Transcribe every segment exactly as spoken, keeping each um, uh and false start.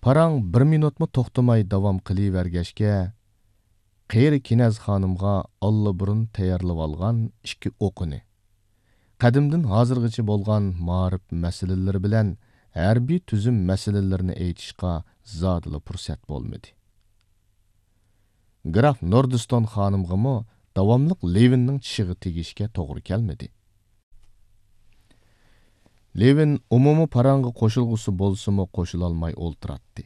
پاراڭ بىر مىنۇتمۇ توختىماي داۋام قىلىۋەرگەچكە، قېرى كىنەز خانىمغا ئاللىبۇرۇن تەييارلىۋالغان ئىككى ئوقىنى، قەدىمدىن ھازىرغىچە بولغان مائارىپ مەسىلىلىرى بىلەن ھەربىي تۈزۈم مەسىلىلىرىنى ئېيتىشقا زادىلا پۇرسەت بولمىدى. گراف نوردستون خانىمغىمۇ داۋاملىق لېۋىننىڭ چىشىغا تېگىشكە توغرا كەلمىدى. لېۋىن ئومۇمىي پاراڭغا قوشۇلغۇسى بولسىمۇ قوشۇلالماي ئولتۇراتتى.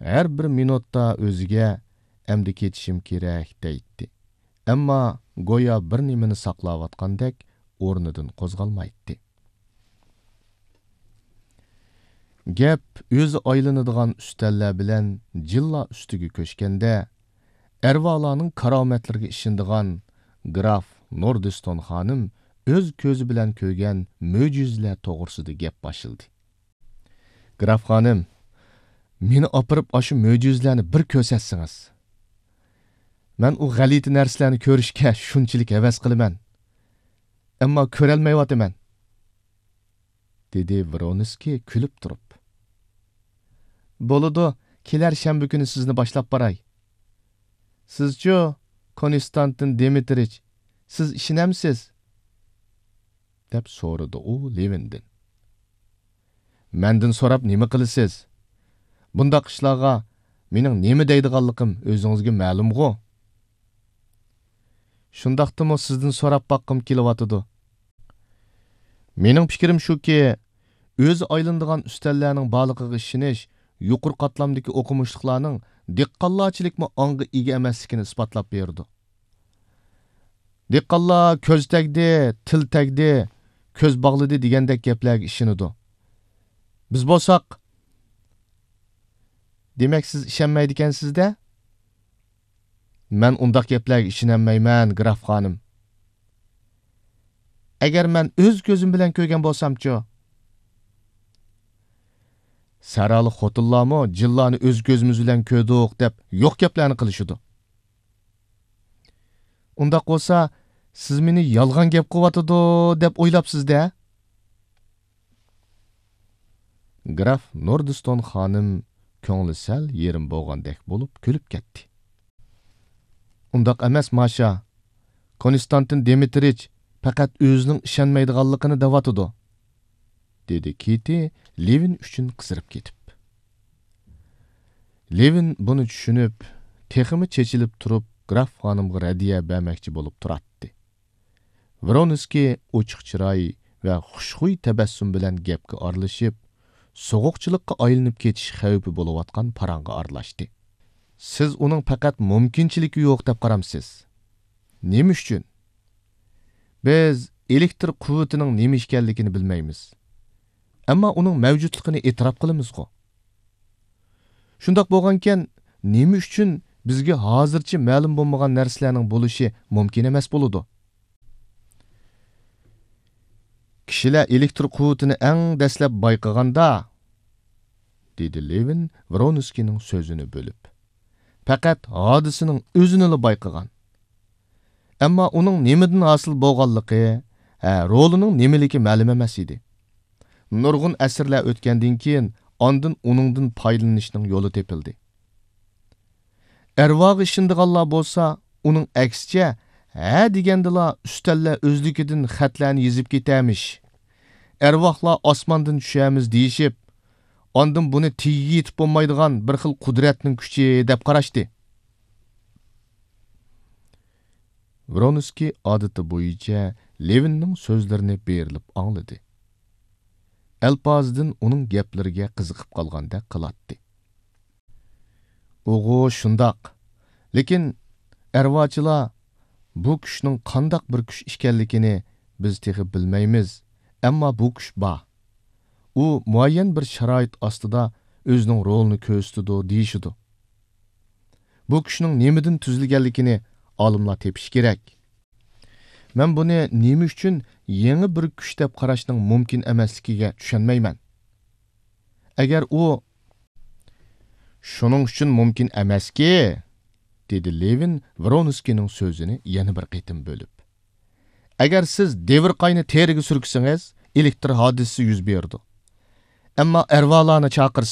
ھەر بىر مىنۇتتا ئۆزىگە «ئەمدى كېتىشىم كېرەك» دەيتتى. ئەمما گويا بىر نېمىنى ساقلاۋاتقاندەك ئورنىدىن قوزغالمايتتى. گەپ ئۆزى ئايلىنىدىغان ئۈستەللەر بىلەن جىللا ئۈستىگە كۆچكەندە، ئەرۋالارنىڭ كارامەتلىرىگە ئىشىنىدىغان گراف نوردستون خانىم ئۆز كۆزى بىلەن كۆرگەن مۆجىزىلەر توغرىسىدا گەپ باشلىدى. گراف خانىم، مېنى ئاپىرىپ ئاشۇ مۆجىزىلەرنى بىر كۆرسەتسىڭىز. مەن ئۇ غەلىتە نەرسىلەرنى كۆرۈشكە شۇنچىلىك ھەۋەس قىلىمەن. ئەمما كۆرەلمەيۋاتىمەن. دېدى ۋرونسكىي كۈلۈپ تۇرۇپ. بولىدۇ، كېلەر شەنبە كۈنى سىزنى باشلاپ باراي. سىزچۇ، كونستانتىن دىمىترىچ، سىز ئىشىنەمسىز؟ دەپ سورىدى ئۇ لېۋىندىن. مەندىن سوراپ نېمە قىلىسىز؟ بۇنداق ئىشلارغا مېنىڭ نېمە دەيدىغانلىقىم ئۆزىڭىزگە مەلۇمغۇ؟ شۇنداقتىمۇ سىزدىن سوراپ باققۇم كېلىۋاتىدۇ. مېنىڭ پىكرىم شۇكى، ئۆزى ئايلىنىدىغان ئۈستەللەرنىڭ بارلىقىغا ئىشىنىش يۇقىرى قاتلامدىكى ئوقۇمۇشلۇقلارنىڭ دېھقانلارچىلىكمۇ ئاڭغا ئىگە ئەمەسلىكىنى ئىسپاتلاپ بېرىدۇ. دېھقانلار «كۆز تەگدى، تىل تەگدى، كۆز باغلىدى» دېگەندەك گەپلەرگە ئىشىنىدۇ. بىز بولساق، دېمەك، سىز ئىشەنمەيدىكەنسىز-دە؟ مەن ئۇنداق گەپلەرگە ئىشىنەلمەيمەن، گراف خانىم. ئەگەر مەن ئۆز كۆزۈم بىلەن كۆرگەن بولسامچۇ؟ سەھرالىق خوتۇنلارمۇ جىنلارنى ئۆز كۆزىمىز بىلەن كۆردۇق دەپ يوق گەپلەرنى قىلىشىدۇ. ئۇنداق بولسا، سىز مېنى يالغان گەپ قىلىۋاتىدۇ دەپ ئويلاپسىز-دە؟ گراف نوردستون خانىم كۆڭلى سەل يېرىم بولغاندەك بولۇپ كۈلۈپ كەتتى. ئۇنداق ئەمەس، ماشا. كونستانتىن دىمىترىچ پەقەت ئۆزىنىڭ ئىشەنمەيدىغانلىقىنى دەۋاتىدۇ، دېدى كىتى لېۋىن ئۈچۈن قىزىرىپ كېتىپ. لېۋىن بۇنى چۈشىنىپ، تېخىمۇ چېچىلىپ تۇرۇپ، گراف خانىمغا رەددىيە بەرمەكچى بولۇپ تۇراتتى. ۋرونسكىي ئوچۇق چىراي ۋە خۇشخۇي تەبەسسۇم بىلەن گەپكە ئارىلىشىپ، سوغۇقچىلىققا ئايلىنىپ كېتىش خەۋپى بولۇۋاتقان پاراڭغا ئارىلاشتى. سىز ئۇنىڭ پەقەت مۇمكىنچىلىكى يوق دەپ قارامسىز؟ نېمە ئۈچۈن؟ بىز ئېلېكتر قۇۋۋىتىنىڭ نېمە ئىكەنلىكىنى بىلمەيمىز. ئەمما ئۇنىڭ مەۋجۇتلۇقىنى ئېتىراپ قىلىمىزغۇ؟ شۇنداق بولغانىكەن، نېمە ئۈچۈن بىزگە ھازىرچە مەلۇم بولمىغان نەرسىلەرنىڭ بولۇشى مۇمكىن ئەمەس بولىدۇ؟ كىشىلەر ئېلېكتر قۇۋۋىتىنى ئەڭ دەسلەپ بايقىغاندا، دېدى لېۋىن ۋرونسكىينىڭ سۆزىنى بۆلۈپ، پەقەت ھادىسىنىڭ ئۆزىنىلا بايقىغان. ئەمما ئۇنىڭ نېمىدىن ھاسىل بولغانلىقى، ھە، رولىنىڭ نېمىلىكى مەلۇم ئەمەس ئىدى. نۇرغۇن ئەسىرلەر ئۆتكەندىن كېيىن، ئاندىن ئۇنىڭدىن پايدىلىنىشنىڭ يولى تېپىلدى. ئەرۋاغا ئىشىنىدىغانلار بولسا، ئۇنىڭ ئەكسىچە، ھە دېگەندىلا ئۈستەللەر ئۆزلۈكىدىن خەتلەرنى يېزىپ كېتەرمىش. ئەرۋاھلار ئاسماندىن چۈشەرمىز دېيىشىپ، ئاندىن بۇنى تېگىگە يېتىپ بولمايدىغان بىر خىل قۇدرەتنىڭ كۈچى دەپ قاراشتى. ۋرونسكىي ئادىتى بويىچە لېۋىننىڭ سۆزلىرىنى بېرىلىپ ئاڭلىدى. ئەلپازىدىن ئۇنىڭ گەپلىرىگە قىزىقىپ قالغاندەك قىلاتتى. ئۇغۇ شۇنداق. لېكىن ئەرۋاچىلار بۇ كۈچنىڭ قانداق بىر كۈچ ئىكەنلىكىنى بىز تېخى بىلمەيمىز، ئەمما بۇ كۈچ بار. ئۇ مۇئەييەن بىر شارائىت ئاستىدا ئۆزىنىڭ رولىنى كۆرسىتىدۇ دېيىشىدۇ. بۇ كۈچنىڭ نېمىدىن تۈزۈلگەنلىكىنى ئالىملار تېپىشى كېرەك. مەن بۇنى نېمە ئۈچۈن يېڭى بىر كۈچ دەپ قاراشنىڭ مۇمكىن ئەمەسلىكىگە چۈشەنمەيمەن. ئەگەر ئۇ، شۇنىڭ ئۈچۈن مۇمكىن ئەمەسكى، دېدى لېۋىن ۋرونسكىينىڭ سۆزىنى يەنە بىر قېتىم بۆلۈپ. ئەگەر سىز دېۋىر قاينى تېرىگە سۈركىسىڭىز، ئېلېكتر ھادىسىسى يۈز بېرىدۇ. ئەمما ئەرۋالارنى چاقىرسىز،